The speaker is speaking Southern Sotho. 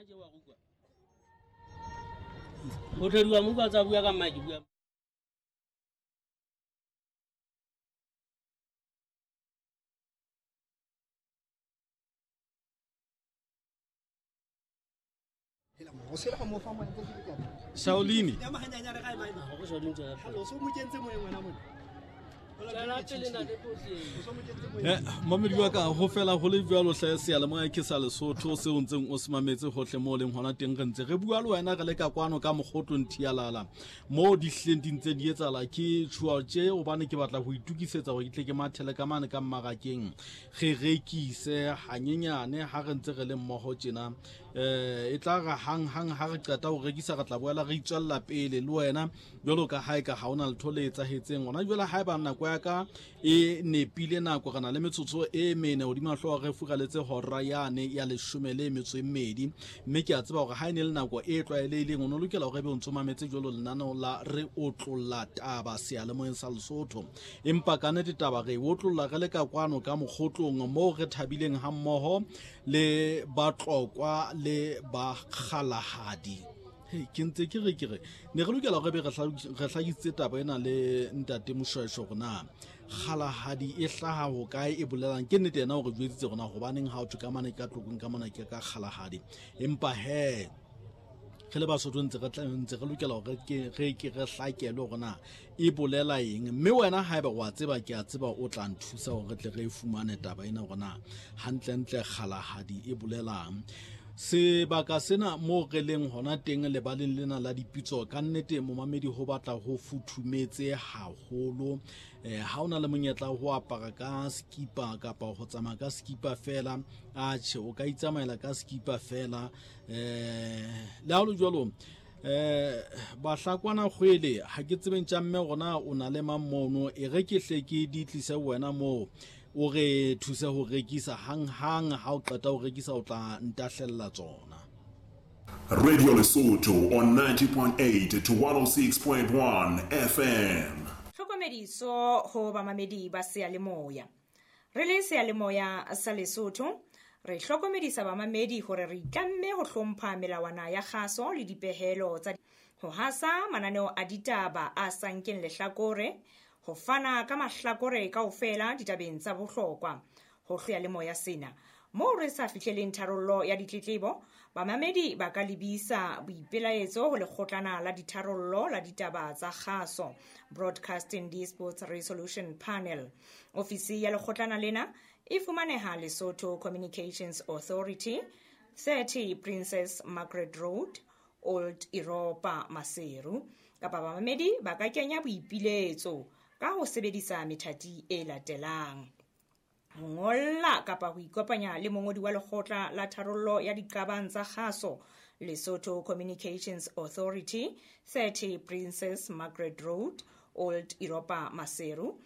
Hona tje wa rukwa. O thediwa mo kwa tsa bua ka mma ke bua. Shaolini. Mamedi wa ka ho fela ho le jwalo hle seyalemoya ke sa Lesotho seo ntseng o se mametse hohle mo leng hona teng. Re ntse re bua le wena re le ka kwano ka mokgotlong thialala mo di hlileng di ntse di etsahala. Ke tjhuwa tje hobane ke batla ho itukisetsa hore ke tle ke mathele ka mane ka mmarakeng, re rekise hanyenyane ha re ntse re le mmoho tjena. E tla re hang hang ha re qeta ho rekisa, re tla boela re itswella pele le wena jwalo ka ha e ka ha ona letho le etsahetseng hona jwale. Haeba nako ya ka e nepile, nako re na le metsotso e mene hodima hlooho re furaletse hora yane ya 12, mme ke a tseba hore ha e ne le nako e tlwaelehileng o no lokela hore ebe o ntso mametse jwalo lenaneo la Re Otlolla Taba seyalemoyeng sa Lesotho. Empa ka nnete taba re e otlolla re le ka kwano ka mokgotlong moo re thabileng hammoho le Batlokwa le Bakgalahadi. Hei, ke ntse ke re ke re ne re lokela hore be re hlakisitse taba ena le ntate Moshweshwe hore na kgalahadi e hlaha hokae, e bolelang. Ke nnete yena o re jwetsitse hore na hobaneng ha o thwe ka mane ka Tlokong ka mona ke ka kgalahadi, empa he re le Basotho ntse re ntse re lokela hore re ke re hlakelwe hore na e bolela eng. Mme wena haeba wa tseba, ke a tseba o tla nthusa hore re tle re e fumane taba ena hore na hantlentle kgalahadi e bolelang. Sebaka sena moo re leng hona teng lebaleng lena la dipitso, ka nnete momamedi ho batla ho futhumetse haholo. Ha o na le monyetla ho apara ka skipa kapa ho tsamaya ka skipa fela, atjhe o ka itsamaela ka skipa fela. Le ha ho le jwalo, Bahlakwana kgwele ha ke tsebeng tša mme gona o na le mang mono, e re ke hle ke di tlise wena moo o re thuse ho rekisa. Hang hang ha o qeta ho rekisa o tla ntahlella tsona. Radio Lesotho on 90.8 to 106.1 FM. Tlhokomediso ho bamamedi ba seyalemoya. Re le seyalemoya sa Lesotho, re hlokomedisa bamamedi hore re itlamme ho hlompha melawana ya kgaso le dipehelo tsa ho hasa mananeo a ditaba a sa nkeng lehlakore, ho fana ka mahlakore kaofela ditabeng tsa bohlokwa. Ho seyalemoya sena moo re sa fihleleng tharollo ya ditletlebo, bamamedi ba ka lebisa boipelaetso ho lekgotlana la ditharollo la ditaba tsa kgaso, Broadcasting Disputes Resolution Panel. Ofisi ya lekgotlana lena e fumaneha Lesotho Communications Authority, 30 Princess Margaret Road, Old Europa, Maseru. Kapa bamamedi ba ka kenya boipiletso ka ho sebedisa methati e latelang: ho ngolla kapa ho ikopanya le mongodi wa lekgotla la tharollo ya diqabang tsa kgaso, Lesotho Communications Authority, 30 Princess Margaret Road, Old Europa, Maseru.